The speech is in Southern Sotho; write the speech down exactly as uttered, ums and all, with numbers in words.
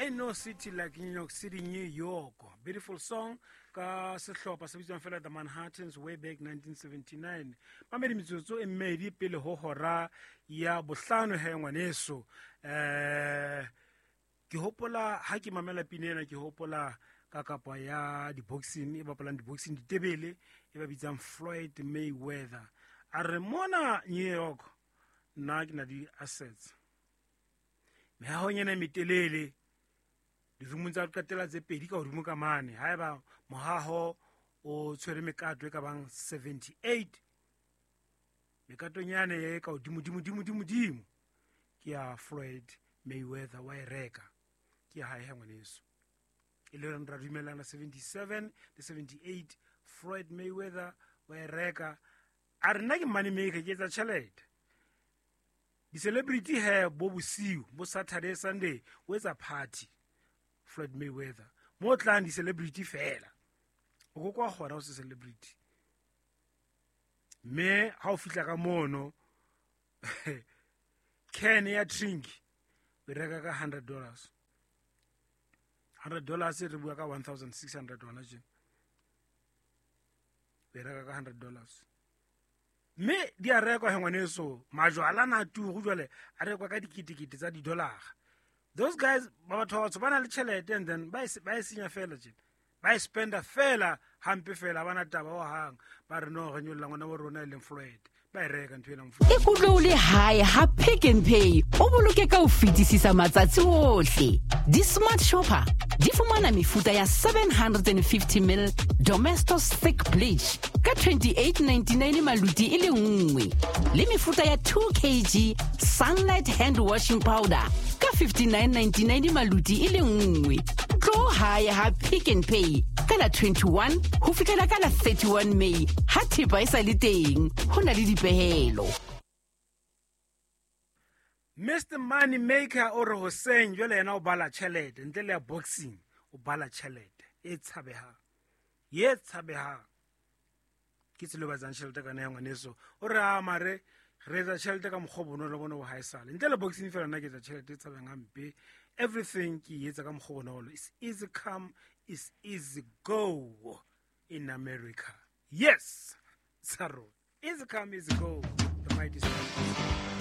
Ain't no city like New York City, New York. Beautiful song ka sehlopha se bitswang fela The Manhattans way back nineteen seventy-nine. Mamedi metsotso e mmedi pele ho hora ya bohlano he ngwaneso. Eh, ke hopola ha ke mamela pina ena, ke hopola ka kapa ya di-boxing, e bapalang di-boxing ditebele, e ba bitsang Floyd Mayweather. A re mona New York nna ke na di-assets. Mehahong ena e metelele, dirumong tsa ho qetela tse pedi ka hodimo ka mane, haeba mohaho o tshwere mekato e ka bang seventy-eight, mekatong yane e ka hodimo, dimo, dimo, dimo, dimo, ke ya Floyd Mayweather wa e reka. Ke ya hae ha ngwaneso. E le reng ra dumellana seventy-seven le seventy-eight, Floyd Mayweather wa e reka. A re nna ke money maker, ke etsa tjhelete. Di-celebrity he bo bosiu, bo Saturday, Sunday, o etsa party. Floyd Mayweather. Mo tlang di-celebrity fela. O ko kwa kgona ho se celebrity. Mme ha o fihla ka mono, can ya drink o e reka ka hundred dollars. hundred dollars re bua ka one thousand six hundred hona tjena. O e reka ka hundred dollars. Mme di a rekwa he ngwaneso, majwala na turu jwale a rekwa ka diketekete tsa di-dollar. Those guys ba batho ba batsho ba na le tjhelete and then ba e se-, ba e senya fela tjena. Ba e spenda fela hampe fela, ba na taba ho hang. Ba re no, re nyolla ngwana wa rona e leng Floyd. Ba e reka ntho ena Floyd. Ikutlwe o le hae ha Pick n Pay, o boloke ka ho fetisisa matsatsi ohle. Di-smart shopper di fumana mefuta ya seven hundred and fifty mil Domestos thick bleach ka twenty-eight ninety-nine maluti e le nngwe, le mefuta ya two kilograms Sunlight hand washing powder ka fifty-nine ninety-nine maluti e le nngwe. Tlo hae ha Pick n Pay ka la twenty-one ho fihlela ka la thirty-one May ha thepa e sa le teng, ho na le dipehelo. Mister Money Maker o re hoseng jwale yena o bala tjhelete, ntle le ya boxing o bala tjhelete e tshabehang, ye tshabehang. Ke tsela e ba etsang tjhelete ka yona ya ngwaneso. O re a mare re etsa tjhelete ka mokgwa o bonolo bona bo haesale. Ntle le boxing fela nna ke etsa tjhelete e tshabehang hampe. Everything ke e etsa ka mokgwa o bonolo. It's easy come, it's easy go in America. Yes, Tsaro. Easy come, easy go. The mighty Star.